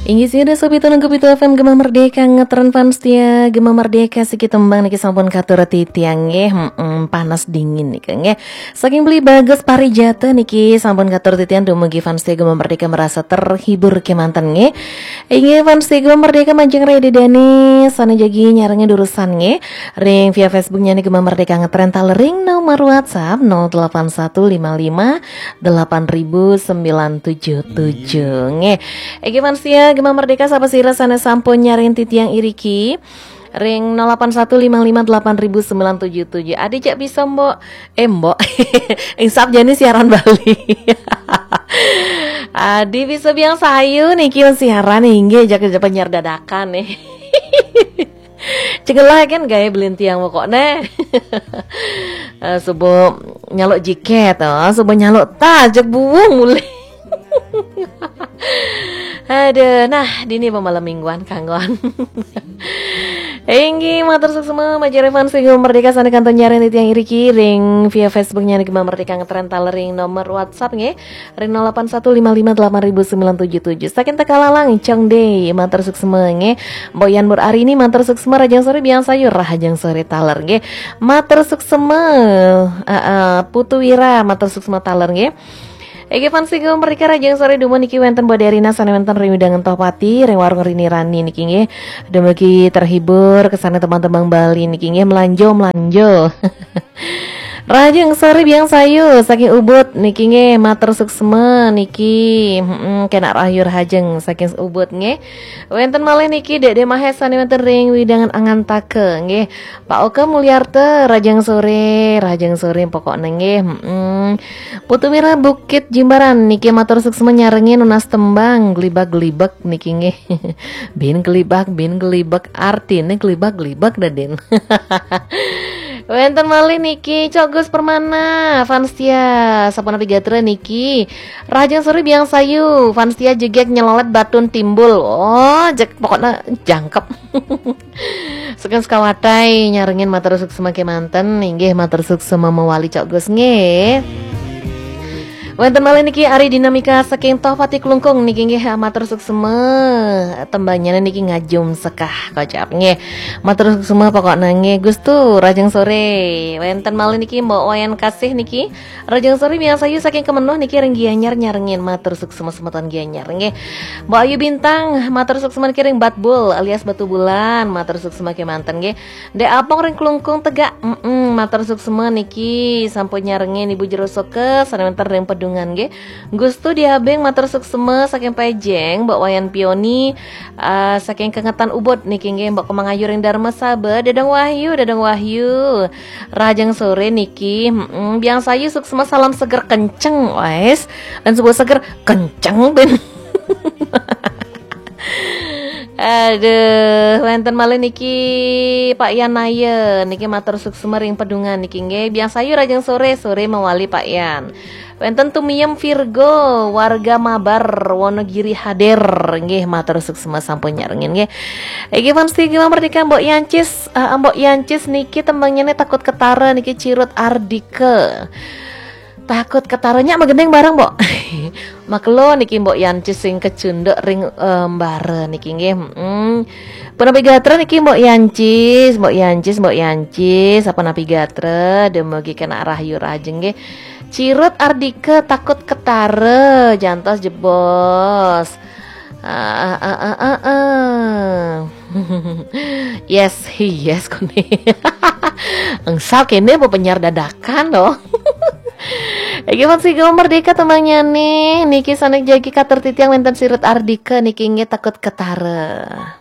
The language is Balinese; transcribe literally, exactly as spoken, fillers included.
Inggih sida sopi tolong kopi F M Gema Merdeka, ngetren fans setia Gema Merdeka, siki tembang niki sampun katur titiang nggih. Mm-mm, panas dingin niki nggih. Saking Beli Bagus Parijata niki sampun katur titiang, dumugi fans setia Gema Merdeka merasa terhibur kemanten nggih. Inggih fans setia Gema Merdeka, majeng Redi Dani sane jagi nyarengin durusane nggih. Ring via Facebook nyane Gema Merdeka ngetren talering nomor WhatsApp nol delapan satu lima lima delapan ribu sembilan tujuh tujuh nggih. Inggih fans setia Gema Merdeka, sapa sira sane sampun nyarengin titiang iriki ring nol delapan satu lima lima delapan ribu sembilan tujuh tujuh. Adi cek bisa, Mbok. Eh, Mbok. Ing Sabjani siaran Bali. Adi bisa biang sayu niki siaran inggih, jaga penyiar dadakan nih. Cegelah kan gaya belintiang pokoknya. Eh, subuh nyaluk jiket, oh, subuh nyaluk tas, jak buung mulai. Aduh, nah, dini pemalam mingguan kanggoan. Inggih, matur suksma, majeng fans Gema Merdeka sane kantun nyarengin titiang iriki ring via Facebook nyane Gema Merdeka ngetren talering nomor WhatsApp nggih. Ring nol delapan satu lima lima delapan ribu sembilan tujuh tujuh. Saking Tegalalang, Cong Dey, matur suksma nggih. Mbok Yan Mur Arini, matur suksma, rahajeng sore biang sayu, rahajeng sore taler nggih. Matur suksma, eh, eh, Putu Wira, matur suksma taler nggih. Ege fans Gema Merdeka, rahajeng sore dumun niki wenten Mbok Derina sane wenten ring wewidangan Tohpati, ring warung Rini Rani niki nggih. Dumugi terhibur kesane tembang-tembang Bali niki nggih, melanjo, melanjo. Rahajeng sore biang sayu saking Ubud niki nggih, matur suksma niki. Mm-mm, kena rahayu rahajeng saking Ubud nggih. Wenten malih niki Dek De Mahes sane wenten ring wewidangan Angantaka nggih. Pak Oka Mulyarta, rahajeng sore, rahajeng sore pokokne nggih. Mm-mm. Putu Mira Bukit Jimbaran niki matur suksma nyarengin nunas tembang gelibak-gelibak niki nggih. Bin gelibak, bin gelibak, artine gelibak-gelibak dah, Din. Wenten malih niki Cok Gus Permana, fans setia, sapunapi gatra niki. Rahajeng sore biang sayu, fans setia jegek nyelolet batun timbul. Oh, jek pokoknya jangkep. Saking Sekawatai nyarengin, matur suksma kemanten, inggih matur suksma mawali Cok Gus nggih. Wenten malih niki Ari Dinamika saking Tohpati Klungkung niki nggih, matur suksma. Tembangnya niki ngajum sekah kocap nggih. Matur suksma pokoknya nggih Gus Tu, rahajeng sore. Wenten malih niki Mbok Wayan Kasih niki. Rahajeng sore biang sayu saking Kemenuh niki ring Gianyar nyarengin, matur suksma semeton Gianyar nggih. Mbok Ayu Bintang, matur suksma niki ring Batbul alias Batu Bulan, matur suksma kemanten nggih. Dek Apong ring Klungkung Tegak, mm-mm, matur suksma niki sampun nyarengin Ibu Jero Soke sane wenten ring Pedungan nggih. Gustu Diabeng, matur suksma saking Pejeng, Mbok Wayan Pioni, ah, saking Kengetan Ubud niki nggih, Mbok Kemang Ayu ring Darma Saba, Dadang Wahyu, Dadang Wahyu. Rahajeng sore niki, mm-mm, biang sayu suksma, salam seger kenceng, wes. Dan sebuah seger kenceng, Ben. Aduh, wenten malih niki Pak Yan Naya, niki matur suksma ring Pedungan niki nggih. Biang sayu rahajeng sore, sore mawali Pak Yan. Wenten Tumiem Virgo, warga Mabar, Wonogiri hadir nggih, matur suksma sampun nyarengin nggih. Iki fans setia Gema Merdeka, Mbok Yancis, eh, Mbok Yancis niki tembangnya nih Takut Ketara niki Cirut Ardika. Takut Ketara nyak magending bareng, Mbok. Makelo niki Mbok Yancis sing kecunduk ring, eh, embara niki nggih. Mm. Punapi gatra niki Mbok Yancis, Mbok Yancis, Mbok Yancis, sapunapi gatra, dumugi kena rahayu rahajeng nggih. Cirut Ardika, Takut Ketara, jantos jebos. Ah, ah, ah, ah, ah, ah. Yes, yes, kone. Engsal kene mau penyiar dadakan loh. Iki fans Gema Merdeka tembangnya nih. Niki sane jagi katur titiang wenten Cirut Ardika niki nggih, Takut Ketara.